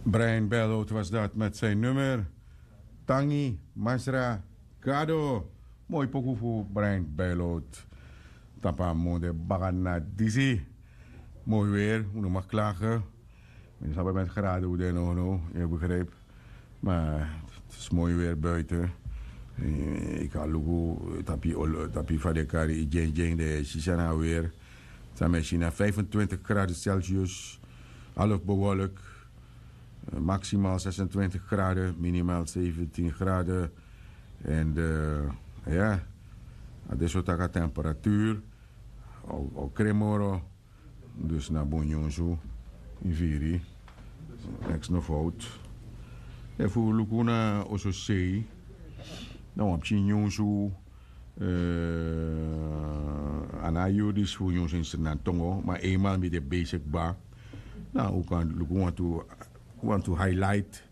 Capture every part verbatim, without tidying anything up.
Brian Bellout was dat met zijn nummer Tangi Masra Gado. Moi poku fu Brian Bellout. Tapu a monde baka na disi. Moi weer, un no mag klagen. Mi no sabi met graden un de no no, je begrijpt. Maar het is mooi weer buiten. Eh, ik ga luku tapi olo- tapi fa de kari i djeng djeng de sisa na weer. San mi e si na vijfentwintig graden Celsius, half bewolk. Eh, maximaal zesentwintig graden, minimaal zeventien graden. En eh, ya, a de so taki a temperatuur. O, o kremoro. Dus na bun nyunsu, i firi. Neks no fout. Efu un luku na oso sei, na wan pikin nyunsu. Eh, a no a yuru disi fu nyunsu ini Sranan tongo, ma eenmaal mi de bezig kba, na un kan luku wantu, wantu highlight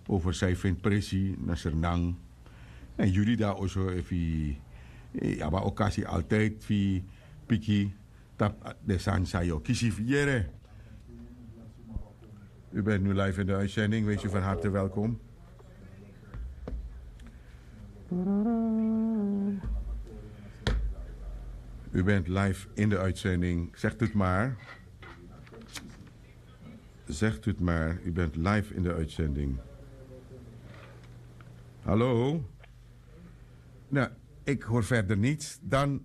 over san yu feni presi na Sranan. En yu di de na oso, efu yu abi a okasi altijd fu yu piki tapu den sani san yu o kisi fu yere. U bent nu live in de uitzending, wees u van harte welkom. U bent live in de uitzending, zegt u het maar. Zegt u het maar, u bent live in de uitzending. Hallo? Nou, ik hoor verder niets. Dan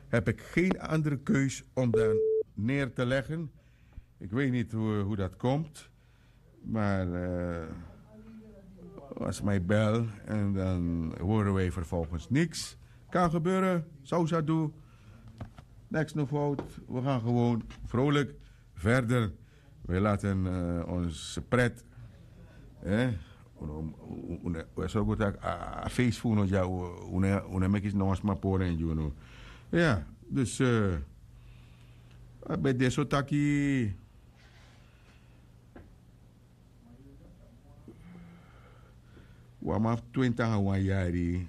heb ik geen andere keus om dan neer te leggen. Ik weet niet hoe, hoe dat komt. Maar eh, was mij bel en dan horen wij vervolgens niks. Kan gebeuren, zou ze doen. Niks no fout. We gaan gewoon vrolijk verder. We laten eh, ons pret. Eh? We sorgen dat a feest voor ons, ja, we meki no sma poren, you know. Ja, dus eh, bij deze taki. Wan man fu twenti nanga wan yari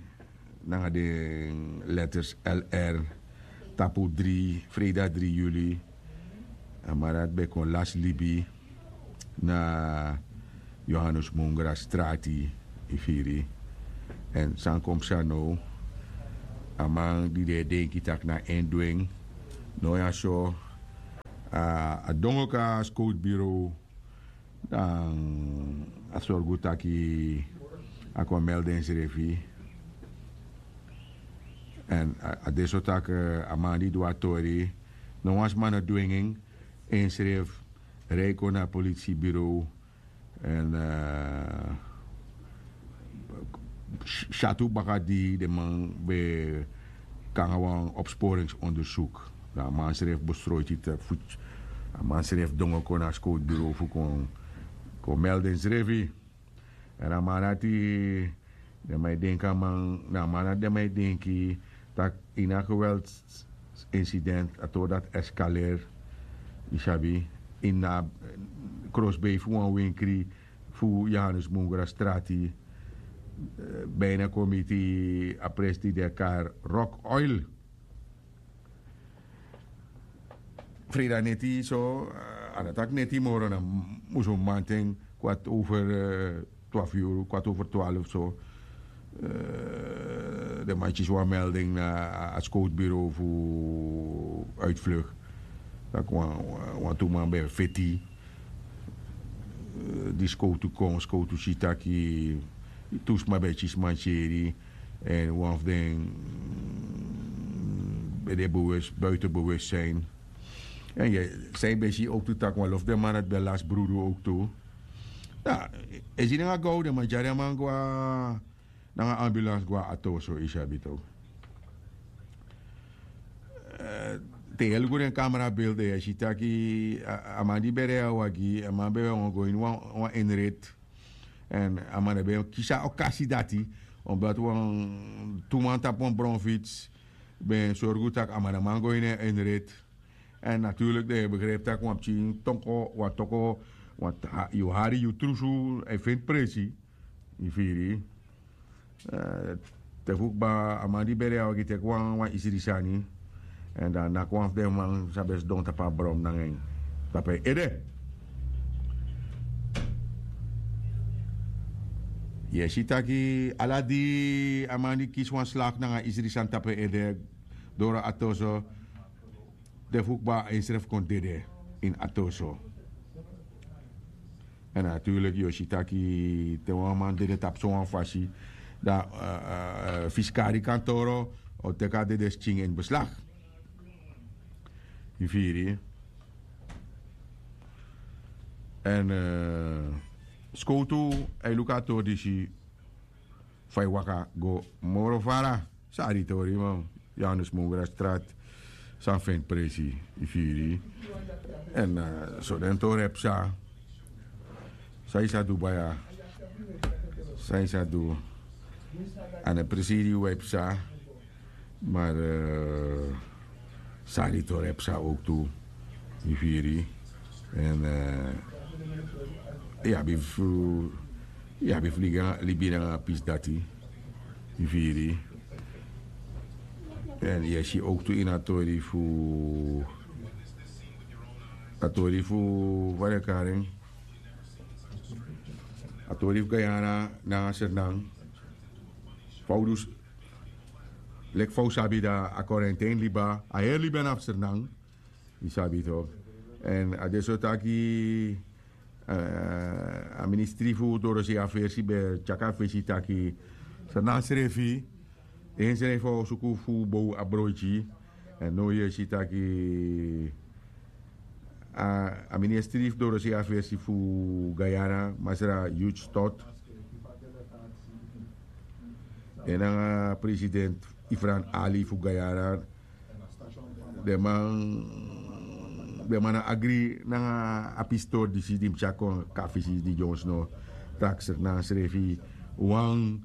nanga den letters L R tapu dri, freida dri yuli. A man dati ben kon lasi libi na Johannes Mungra strati, i firi. Èn san kon psa now, a man di den e denki tak' na en du en, now ya so, a dongo kon na a skowtbureau. Dan a sorgu taki a kon melde ensrefi. Èn a de so taki a man di du a tori, no wan sma no dwingi en, ensrefi rei kon na a politibureau. Èn syatu baka di den man ben kon nanga wan opsporingsondersuku. Dan a man srefi bestroiti te fu a man srefi dongo kon na a skowtbureau fu kon kon melde ensrefi. Èn a man dati, den man e denki a man na a man dati den man e denki tak' ini a geweltsinsident a tori dati eskaleri, yu sabi, ini a krosbei fu wan winkri fu Johannes Mungra strati, bina kon miti a presi di den e kari Rock Oil. Freida neti so, a no taki neti moro, na musu mamanten kwart over twalufu yuru, kwart over twalufu so. Den man kisi wan melding na a skowtbureau fu uitvlucht, tak' wantu man ben feti. Di skowtu kon, skowtu si taki tu sma ben kisi mankeri. Èn wan fu den ben de buiten bewustzijn. Èn yu e san yu ben si owktu tak' wan lo fu den man dati ben lasi brudu owktu. Ya, e si nanga gow den man tyari a man go na nanga ambulans go na atoso, yu sabi tok'. Te yu e luku den kamera bilde yu e si taki a man di ben rei a wagi, a man ben wani go ini wan inrit. Èn a man ben kisi a okasi dati, omdati wan tu man tapu wan bronfits ben sorgu tak' a man no man go ini en inrit. Èn naturlik den e begripi tak' wan pikin toko wan toko, yu hari yu trusu, e feni presi. Yu firi. Te fu kba a man di ben de a wagi teki wan isri sani. Èn dan naki wan fu den man san ben sidon tapu a bron nanga en tapu en ede. Yu e si taki ala di a man di kisi wan slak nanga isri sani tapu en ede, doro a torso, te fu kba ensrefi kon dede ini a torso. Èn naturliki yu o si taki te wan man dede tapu sowan fasi, dan fisikari kantoro o teki a dede skin ini beslak. Yu firi? Èn skowtu, a e luku a tori disi fa e waka go moro fara. Sari tori man, yanu smungra strat, san feni presi. Yu firi? Èn so den tori e psa. San yu sa du baya? San yu sa du? A no e presi di wi e psa. Mari sari tori e psa owktu. Yu firi? Èn yu abi fu yu abi fu libi nanga a pisi dati. Yu firi? Èn yu e si owktu ini a tori fu a tori fu fa den e kari en, a tori fu gayana nanga sernan. Fa un du leki fa un sabi dan a korentein liba a heri libi ana fu sernan. Yu sabi tok'? Èn a de so taki a ministri fu dorosei afersi ben tyaki a fesi taki sernan srefi ensrefi o suku fu bow a broiti. Èn now yu e si taki a ministri fu dorosei afersi fu gayana masra huge stot en nanga president ifran ali fu gayana. Den man den man no agri nanga a pisitori disi di mus tyari kon kafisi di dyonsno. Taksi na srefi wan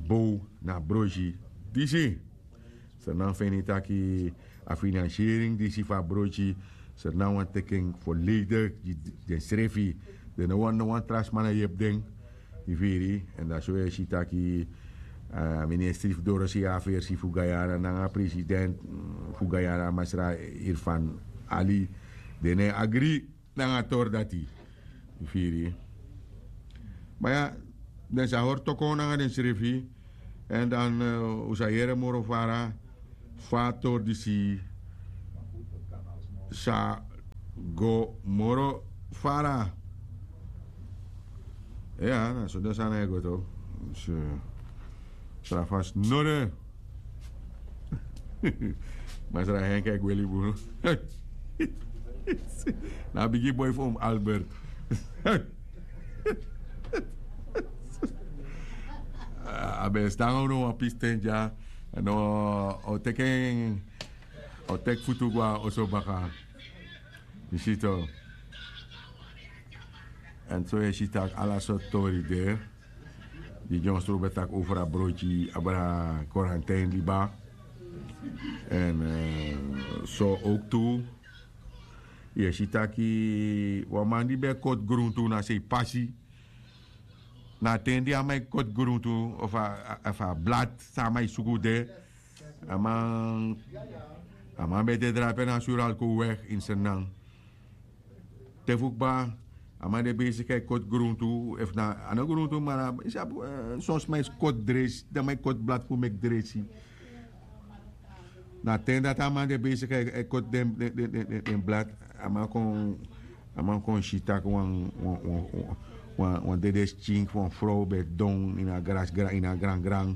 bow na broisi disi. Sernan feni taki a finansiering disi fu a broisi sernan wani teki en foledig gi densrefi. Den no wani no wan tra sma na yepi den. Yu firi? Èn dati so yu e si taki a ministri fu dorosei afersi fu gayana nanga president fu gayana masra irfan ali den no e agri nanga a tori dati. Yu firi? Ma ya, den sa hori tokon nanga densrefi. Èn dan un sa yere moro fara fa a tori disi sa go moro fara. Ya na so den sani e go to. Tra fasi no de. Masra henk e gweli bunu. Na a bigi boi fu un albert. A ben e stan unu wan pisten dya. No o teki en o teki futu go na oso baka. Yu si to? Èn so yu e si tak' ala sortu tori de. Di dyonsro ben taki over a broiti abra korantein liba. Èn so owktu yu e si taki wan man di ben e koti gruntu na sei pasi. Na a ten di a man e koti gruntu ofu a blad san a man e suku de. A man a man ben de drape na suralko weg ini sernan. Te fu kba a man de besik a e koti gruntu efu na a no gruntu ma na yu sabi. Son sma e si koti dresi den man e koti blad fu meki dresi. Na a ten dati a man de besik a e koti den blad. A man kon a man kon si tak' wan wan wan wan dede skin fu wan frow ben e don ini a grasi ini a grangran.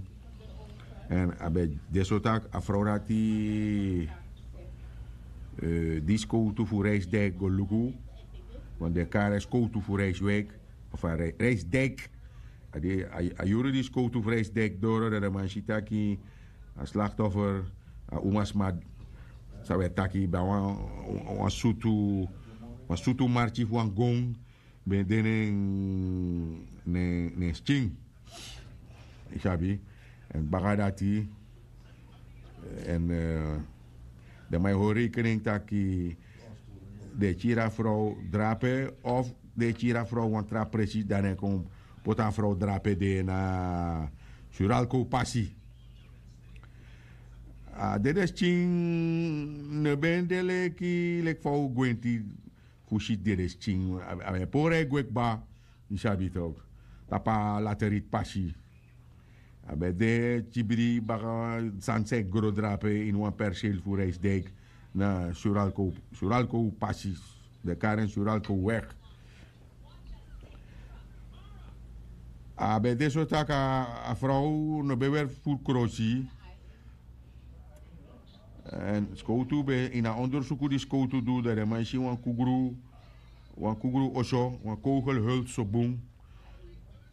Èn a ben de so tak' a frow dati di skowtu fu reisdijk go luku. Want den e kari en skowtu fu reiswijk of a reisdijk. A yuru di skowtu fu reisdijk doro dan den man si taki a slaktoffer a umasma san wi e taki ben a wan sutu wan sutu marki fu wan gon ben de na en na en skin. Yu sabi? Èn baka dati èn den man e hori rekening taki den e kiri a frow drape of den e kiri a frow wan tra presi dan den e kon poti a frow drape de na suralko pasi. A dede skin no ben de leki leki fa un gwenti fu si dede skin. A ben e pori a e gwe kba. Yu sabi tok'? tapu a laterit pasi. A ben de tibri baka sani san e gro drape ini wan perseel fu Rijsdijk na Suralco, Suralco pasi, de karen Suralco weg. A ben de so taki a frow no ben weri furu krosi. Èn skowtu ben ini a ondersuku di skowtu du, dan den man e si wan kugru, wan kugru oso, wan kogelhult so bun,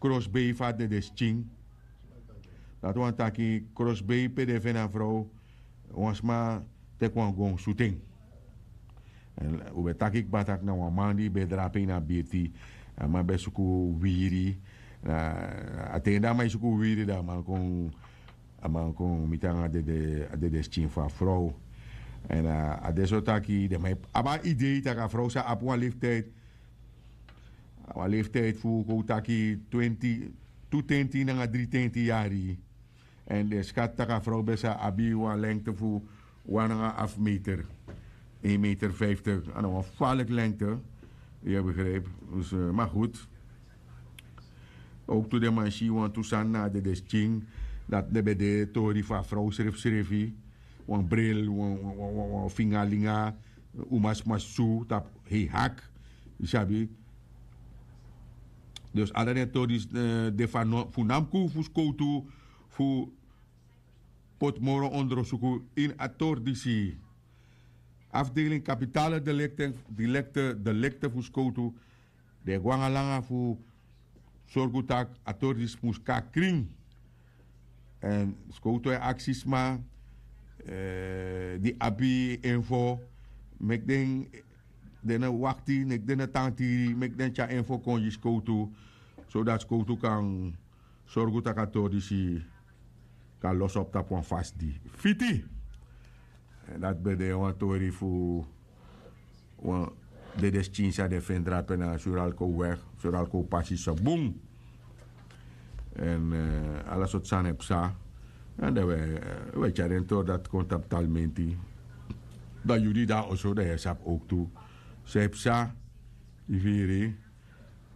krosbei fu a dedeskin. Dati wani taki krosbei pe den feni a frow, wan sma teki wan gon sutu en. Èn un ben taki kba taki na wan man di ben drape ini a birti. A man ben suku wiri. Na a ten di a man e suku wiri, dan a man kon, a man kon miti nanga a dede, a dedeskin fu a frow. Èn a de so taki den man abi a idei taki a frow sa abi wan leeftijd, wan leeftijd fu kon taki twenti, tu tenti nanga dri tenti yari. Èn den skati tak' a frow ben sa abi wan lengte fu wan nanga afu meter, één meter vijftig. A na wan faliki lengte. Yu e begrijpi? Dus, ma goed. Ook tu den man si wantu sani na a dedeskin, dati den ben de tori fu a frow srefsrefi, wan bril, wan fingalinga, umasma su tapu hei hak. Yu sabi? Dus ala den tori disi de fu namku fu skowtu fu poti moro ondrosuku ini a tori disi. Afdeling kapitale delekte, delekte fu skowtu, den e go nanga langa fu sorgu tak' a tori disi mus kon na krin. Èn skowtu e aksi sma di abi info, meki den, den no wakti, meki den no tan tiri, meki den tyari info kon gi skowtu, sodati skowtu kan sorgu tak' a tori disi kan losi op tapu wan fasi di fiti. Èn dati ben de wan tori fu wan dedeskin san den feni drape na Suralco weg, Suralco pasi so bun. Èn ala sortu sani e psa. Èn dan wi e tyari den tori dati kon tapu Talmenti. Dan yu di de na oso, dan yu e sabi ook tu san e psa. Yu firi?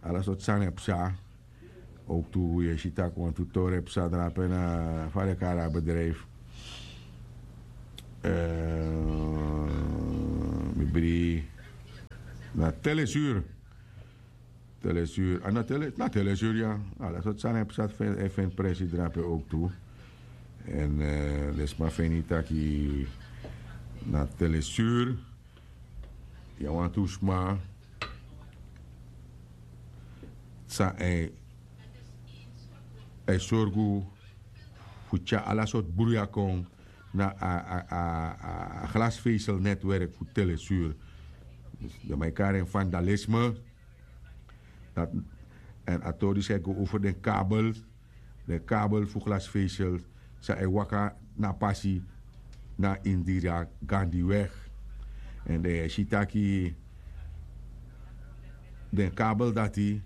Ala sortu sani e psa. Ook tu yu e si tak' wantu tori e psa drape na, fa den kari a bedrijf, mi bri, na Telesur. Telesur, a na Tele, na Telesur, ya. Ala sortu sani e psa, e feni presi drape ook tu. Èn den sma feni taki na Telesur ya wantu sma san e, e sorgu fu tyari ala sortu bruya kon na a, a, a, a glasvezelnetwerk fu Telesur. Dus den man e kari en vandalisme. Dati, èn a tori disi e go over den kabel, den kabel fu glasvezel san e waka na a pasi na Indira Gandhi weg. Èn den e si taki den kabel dati,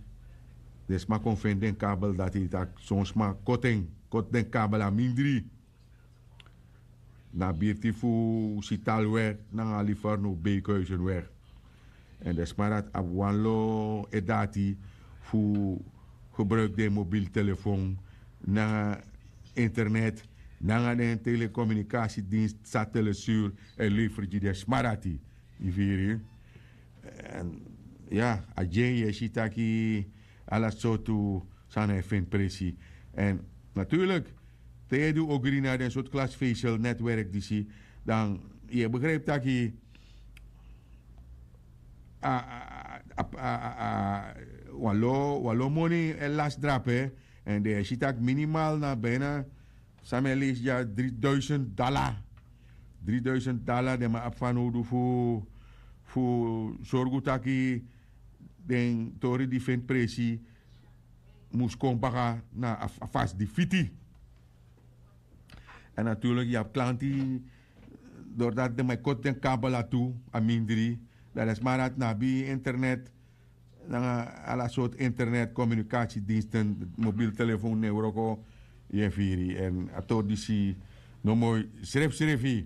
den sma kon feni den kabel dati, taki son sma koti en, koti den kabel a mindri. Na birti fu Sitalweg nanga Livorno Beekhuizenweg. Èn den sma dati abi wan lo e dati fu gebruiki den mobiel telefon nanga internet nanga den telecommunicatiedienst san Telesur e leferi gi den sma dati. Yu firi? Èn ya, a dyen yu e si taki ala sortu sani e feni presi. Èn natuurlik, te yu e du ogri na den sortu glasvezelnetwerk disi, dan yu e begrijpi taki a, a, a, a, a, wan lo, wan lo moni e lasi drape. Èn den e si taki minimaal na bijna, san mi e leisi dya, driduisend dala. Driduisend dala den man abi fanowdu fu, fu sorgu taki den tori di feni presi mus kon baka na a, a fasi di fiti. Èn natuurlik yu abi klanti, doordat den man e koti den kabel dati tu a mindri, dan den sma dati no abi internet nanga ala sortu internet, communicatiediensten, mobiel telefoon no e wroko. Yu e firi? Èn a tori disi no moi srefsrefi.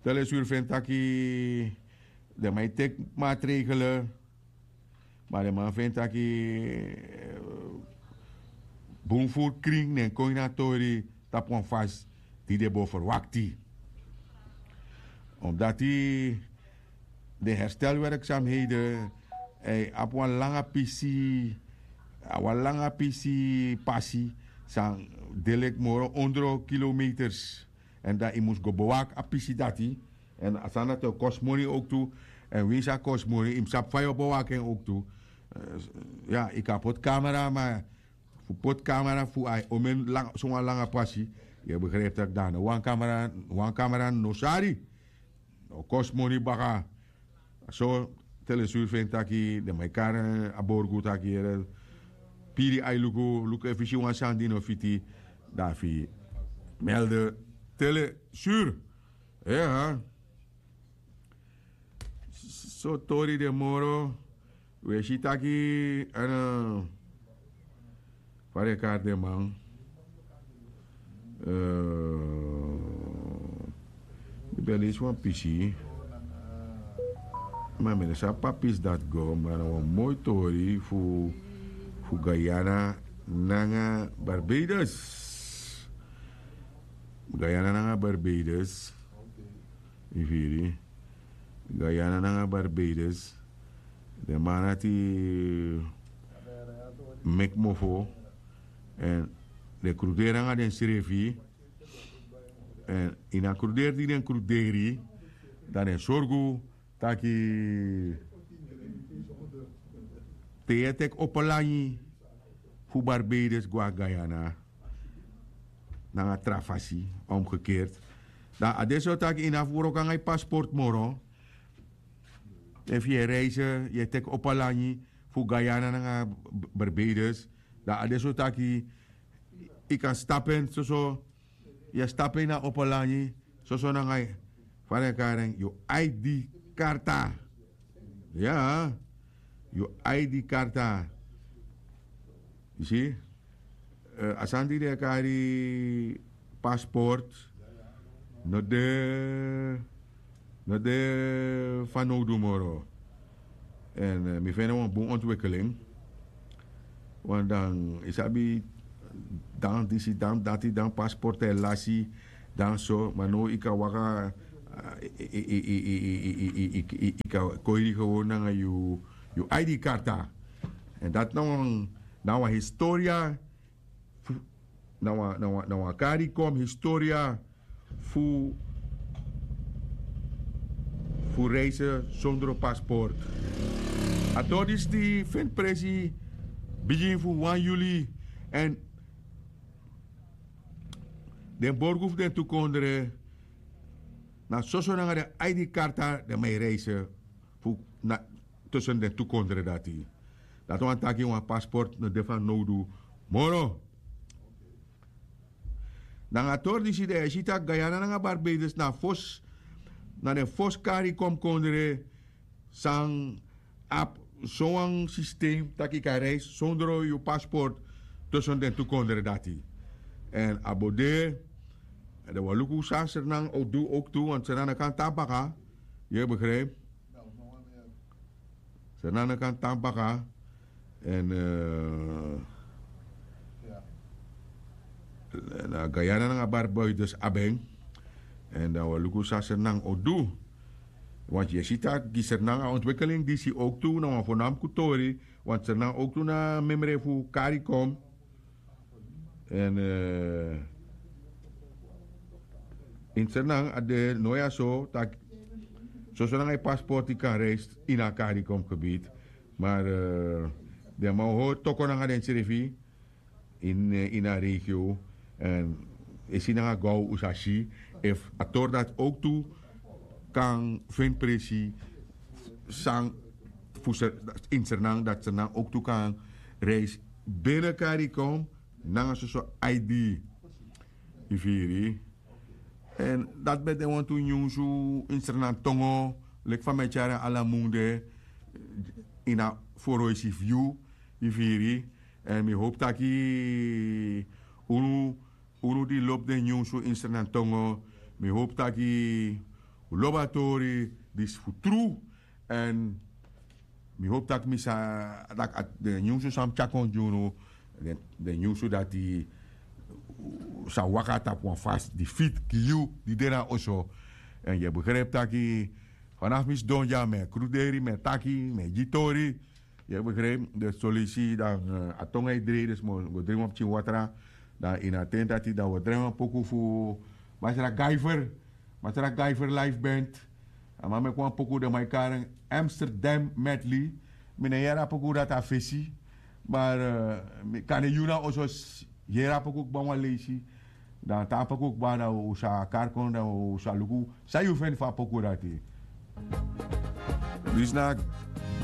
Telesur feni taki den man e teki maatregelen Ma den man feni taki bun furu krin nen kon ini a tori tapu wan fasi di den bo ferwakti. Omdati den herstelwerksamheden abi wan langa pisi, a wan langa pisi pasi san de leki moro ondro kilometers. Èn dan yu mus go bewaki a pisi dati. Èn a sani dati o kosi moni owktu. Èn winsi a kosi moni yu mus sabi fa yu o bewaki en owktu. Ya, yu kan poti kamera ma fu poti kamera fu ai omen sowan langa pasi. Yu e begripi tak' dan na wan kamera, wan kamera no sari. O kosi moni baka. So telesur feni taki den man e kari a borgu taki yere, piri ai luku luku efu yu si wan sani di no fiti, dan a fi melde telesur. Eha. So tori de moro. We si taki en fa den kari den man. Mi ben leisi wan pisi. Ma mi no sabi papis dati go ma na wan moi tori fu fu guyana nanga barbados. Guyana nanga barbados. Yu firi? Guyana nanga barbados. Den man dati meki mofo. Èn den kruderi nanga densrefi. Èn ini a kruderi di den kruderi dan den sorgu taki te yu e teki opo langi fu barbados go na guyana. Nanga tra fasi, omgekeerd. Dan a de so taki yu no abi wroko nanga yu pasport moro. Efu yu e reise, yu e teki opo langi fu guyana nanga barbados, dan a de so taki yu kan stapu en soso. Yu e stapu en ini a opo langi soso nanga yu fa den e kari en yu id karta. Ya, yu id karta. Yu si? A sani di den e kari pasport no de no de fanowdu moro. Èn mi feni en wan bun ontwikkeling. Want dan yu sabi dan disi dan dati dan pasport e lasi dan so ma now yu kan waka. Yu kan kon yu di gewon nanga yu id karta. Èn dati na wan na wan historia fu na wan na wan na wan kari kon historia fu fu reise sondro pasport. A tori disi di feni presi bigin fu wan yuli. Èn den borgu fu den tu kondre na soso nanga den id karta den man e reise fu na tusun den tu kondre dati. Dati wani taki wan pasport no de fanowdu moro. Nanga a tori disi den e si tak' guyana nanga barbados na a fosi na den fosi kari kon kondre san abi sowan sistem tak' yu kan reisi sondro yu pasport tusun den tu kondre dati. Èn a bo de den wani luku san sernan o du owktu want sernan no kan tan baka. Yu e begripi? Sernan no kan tan baka. Èn na guyana nanga barbados abi en. Èn dan wi e luku san sernan o du. Want yu e si tak' gi sernan a ontwikkeling disi owktu na wan fonamku tori. Want sernan owktu na memre fu karikom. Èn ini sernan a de no ya so tak' soso nanga yu pasport yu kan reisi ini a karikom gebit. Mar den man o hori toko nanga densrefi ini a regio. Èn e si nanga go un sa si efu a tori dati owktu kan feni presi san fu ini sernan dati sernan owktu kan reisi bene karikom nanga soso id. Yu firi? Èn dati ben de wantu nyunsu ini sernan tongo leki fa mi e tyari en ala mun de ini a foroisi fu yu. Yu firi? Èn mi howpu taki unu unu di lobi den nyunsu ini sernan tongo mi howpu taki un lobi a tori disi fu tru. Èn Mi hopi tak' mi sa tak' den nyunsu san mi tyari kon gi unu, den nyunsu dati sa waka tapu wan fasi di fiti gi yu di de na oso. Èn yu e begripi tak' fanafu mi sidon dya mi e kruderi mi e taki mi e gi tori. Yu e begripi dus solisi dan a tongu e drei dus mi o go drei wan pikin watra. Dan ini a ten dati dan wi o drei wan poku fu masra gaifer. Masra gaifer life band. A man meki wan poku den man e kari en amsterdam medley. Mi no e yere a poku dati a fesi. Mar kande yu na oso yere a poku kba wan leisi. Dan te a poku kba dan un sa kari kon dan un sa luku san yu feni fu a poku dati. Disi na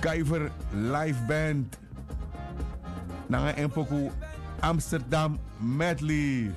gaifer life band nanga en poku amsterdam medley.